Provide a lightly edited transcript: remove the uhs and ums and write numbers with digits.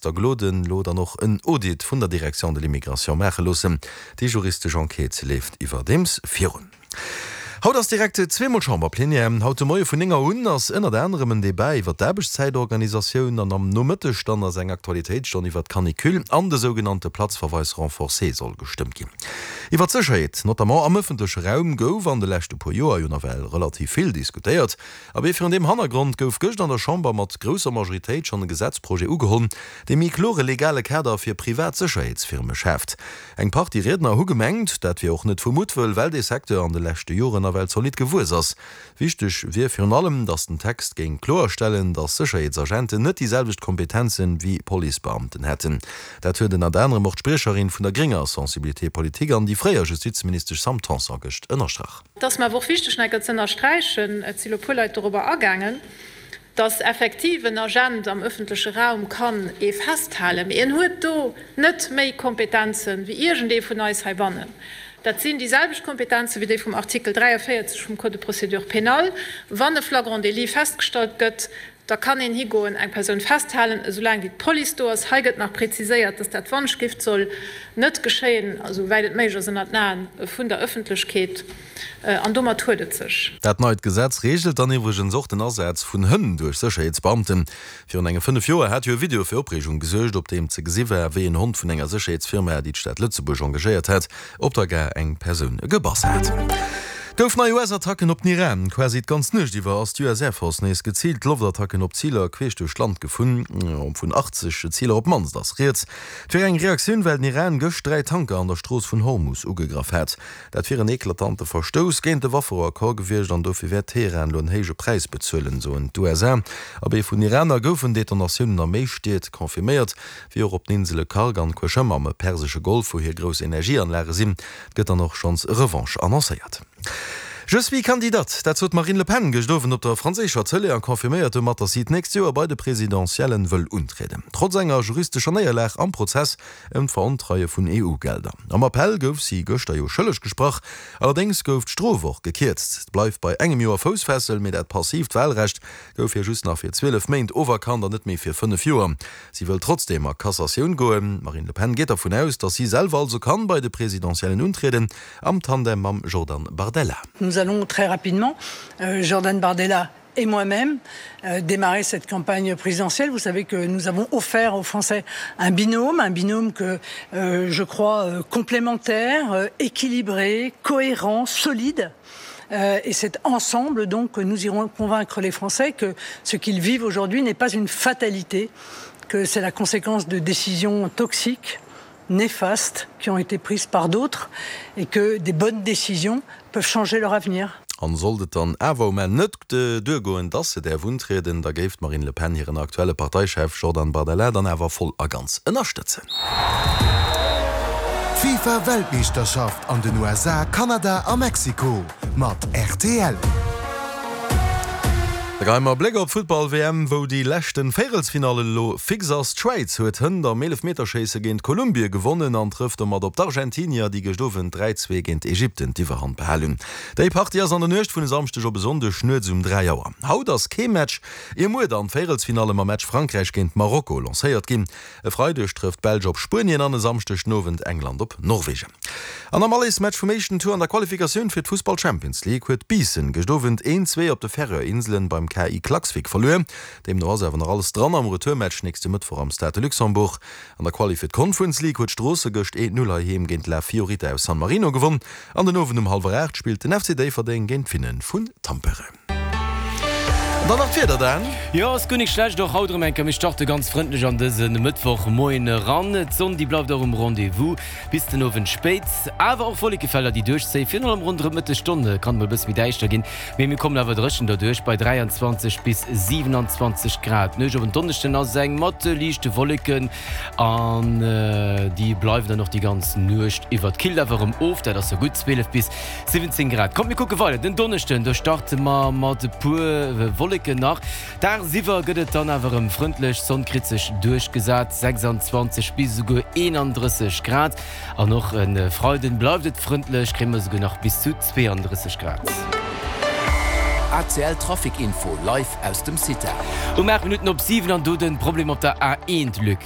Der Gloden elo dann och en Audit vun der Direction de l'immigration maache loossen. Déi juristesch Enquête leeft iwwerdeems virun. Haut ass direkt zweemol Chamberplenière. Haut de Moie vun 9 Auer un ass ënnert anerem en Debat iwwer d'Aarbechtszäitorganisatioun an am Nomëtteg dann ass eng Aktualitéitsstonn iwwer d'Canicule an de sougenannte Platzverweis renforcé soll gestëmmt ginn. Iwwer d'Sécherheet, notamment am ëffentleche Raum, gouf an de leschte puer Joer jo nawell relativ vill diskutéiert. Abee, virun deem Hannergrond gouf gëscht an der Chamber mat grousser Majoritéit schonn e Gesetzprojet ugeholl, dee méi klore legale Kader fir privat Sécherheetsfirme schaaft. Eng Partie Riedner hu gemengt, dat wier och net vu Muttwëll, well dee Secteur an de leschte Joren nawell zolidd gewuess ass. Wichteg wier virun allem, datt den Text géing kloerstellen, datt Sécherheetsagenten net déi selwecht Kompetenzen wéi Policebeamten hätten. Dat huet ënnert anerem och d'Spriecherin vun der grénger Sensibilité politique an déi fréier Justizministesch Sam Tanson gëscht ënnerstrach. Et ass mer awer och wichteg, nach eng Kéier ze ënnersträichen, et si lo e puer Leit dorobber agaangen, dass effektiv en Agent am öffentleche Raum kann ee festhalen, mee en huet do net méi Kompetenze wéi iergendee vun eis heibannen. Dat sinn déi selwecht Kompetenze wéi déi vum Artikel 43 vum Code de procédure pénale. Wann e Flagrant délit festgestallt gëtt, Da kann een higoen, eng Persoun festhalen, esoulaang wéi d'Police do ass. Hei gëtt nach präziséiert, dass dat Wandschgift soll net geschéien, esou wäit et méiglech ass, ënnert den Aen vun der Ëffentlechkeet. An domat huet et sech. Dat neit Gesetz reegelt dann iwwregens och den Asaz vun Hënn duerch Sécherheetsbeamten. Virun enge 5 Joer hat jo e Video fir Opreegung gesuergt, op deem ze gesi war, wéi en Hond vun enger Sécherheetsfirma, déi d'Stad Lëtzebuerg engagéiert hat, op der Gare eng Persoun gebass hat. Gouf nei US-Attacken op den Iran. Quasi d'ganz Nuecht iwwer ass d'US Air Force nees geziilt Loftattacken op Ziler queesch duerch d'Land geflunn. Vun 80 Ziler op d'mannst ass rieds. Et wier eng Reaktioun, well den Iran gëscht 3 Tanker an der Strooss vun Hormus ugegraff hat. Dat wier en eklatante Verstouss géint de Wafferouaccord gewiescht an dofir wäert Teheran elo en héije Präis bezuelen, soen d'USA. Abee vun Iraner goufen Detonatiounen a méi Stied confirméiert. Wéi och op den Insele Kharg an Qeshm am persesche Golf, wou hir grouss Energieanlage sinn, gëtt dann och schonns Revanche annoncéiert. Je suis candidate, dat sot d'Marine Le Pen gëscht Owend op der franséischer Tëlee a confirméiert domat, datt si d'nächst Joer bei de Presidentiellen wëll untrieden. Trotz enger juristescher Néierlag am Prozess ëm d'Verontreie vun EU-Gelder. Am Appell gouf si gëschter jo schëlleg gesprach, allerdéngs gouf d'Strof och gekierzt. Et bleift bei engem Joer Foussfessel, mee dat passiivt Walrecht gouf hir just nach fir 12 Méint oferkannt an net méi fir 5 Joer. Si wëll trotzdeem a Cassatioun goen. D'Marine Le Pen geet dervun aus, datt si selwer also kann bei de Presidentiellen untrieden, am Tandem mam Jordan Bardella. Nous allons très rapidement, Jordan Bardella et moi-même, démarrer cette campagne présidentielle. Vous savez que nous avons offert aux Français un binôme, un binôme que je crois complémentaire, équilibré, cohérent, solide. Et c'est ensemble donc que nous irons convaincre les Français que ce qu'ils vivent aujourd'hui n'est pas une fatalité, que c'est la conséquence de décisions toxiques, néfastes qui ont été prises par d'autres et que des bonnes décisions peuvent changer leur avenir. An sollt et dann awer um Enn net duergoen, dass se däerf untrieden, da géif d'Marine Le Pen hiren aktuelle Parteichef Jordan Bardella dann awer voll a ganz ënnerstëtzen. D'FIFA Weltmeeschterschaft an den USA, Kanada a Mexiko mat rtl. Da geheie mer e Bléck op d'Futtball-WM, wou déi leschten Véierelsfinall elo fix ass. D'Schwäiz huet hënt am Eelefmeterschéisse géint Kolumbie gewonnen an trëfft domat op d'Argentinier, déi gëscht Owend 3, 2 géint Ägypten d'Iwwerhand behal hunn. Déi Partie ass an der Nuecht vun e Samschdeg op e Sonndeg nuets um 3 Auer. Haut ass kee Match, ier muer dann d'Véierelsfinalle mam Match Frankräich géint Marokko lancéiert ginn. E Freideg trëfft d'Belsch op Spuenien an e Samschdeg den Owend England op Norwegen. An am Allesmatch vum éischten Tour an der Qualifikatioun fir d'Fussball-Champions League huet Biissen gëscht Owend 1, 2 op de Färöer Inselen beim KI Klaksvik verluer. Deemno ass awer nach alles dran am Retourmatch nächste Mëttwoch am Stade de Luxembourg. An der Quali fir d'Conference League huet Stroosse gëscht 1, 0 heiheem géint La Fiorita aus San Marino gewonn an den Owend um hallwer 8 spillt den FC Déifferdeng géint d'Finne vun Tampere. An dann nach d'Wieder, Dan. Jo, ass guer nik schlecht, och haut erëm eng Kéier. Mir starte ganz frëndlech an dëse Mëttwochmoien eran. D'Sonn, déi bleift och um Rendez-vous bis den Owend spéit. Awer och Wollekefelder, déi duerchzéien. Virun allem ronderëm d'Mëttesstonn kann et mol e bësse méi däischter ginn, mee mir kommen awer dréchen derduerch bei 23 bis 27 Grad. D'Nuecht op en Donneschden ass eng mat liichte Wolleken an déi bleiwen dann och déi ganz Nuecht iwwer. Et killt awer erëm of, dat ass jo gutt, 12 bis 17 Grad. Kommt mir kucke weider den Donneschden, do starte mer mat e puer Wolleken nach. Dagsiwwer gëtt et dann awer erëm frëndlech, d'Sonn kritt sech duerchgesat, 26 bis esouguer 31 Grad. An och e Freiden bleift et frëndlech, kréie mer esouguer nach bis zu 32 Grad. ACL Trafic Info live aus dem CITA. Um 8 Minutten op 7 an do den Problem op der A1, Luc.